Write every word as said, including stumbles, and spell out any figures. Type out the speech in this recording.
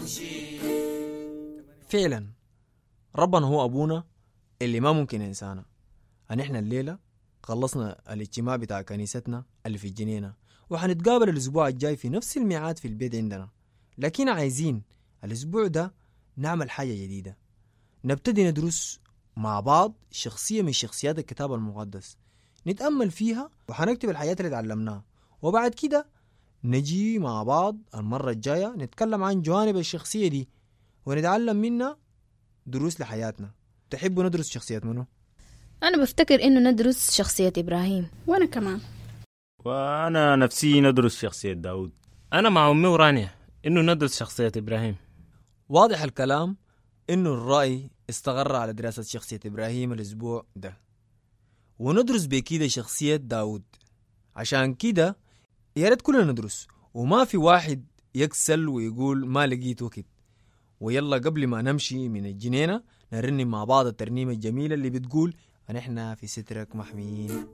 بمشي. فعلا ربنا هو أبونا اللي ما ممكن ينسانا. نحن الليلة خلصنا الاجتماع بتاع كنيستنا اللي في الجنينة، وحنتقابل الأسبوع الجاي في نفس الميعاد في البيت عندنا. لكن عايزين الأسبوع ده نعمل حاجة جديدة، نبتدي ندرس مع بعض شخصية من شخصيات الكتاب المقدس، نتأمل فيها وحنكتب الحاجات اللي تعلمناها، وبعد كده نجي مع بعض المرة الجاية نتكلم عن جوانب الشخصية دي ونتعلم منها دروس لحياتنا. تحبوا ندرس شخصية منو؟ أنا بفتكر إنه ندرس شخصية إبراهيم. وأنا كمان. وأنا نفسي ندرس شخصية داود. أنا مع أمي ورانيا إنه ندرس شخصية إبراهيم. واضح الكلام إنه الرأي استقر على دراسة شخصية إبراهيم الأسبوع ده، وندرس بكده شخصية داود. عشان كده يا ريت كلنا ندرس، وما في واحد يكسل ويقول ما لقيت وقت. ويلا قبل ما نمشي من الجنينة نرنم مع بعض الترنيمة الجميلة اللي بتقول أن إحنا في سترك محميين.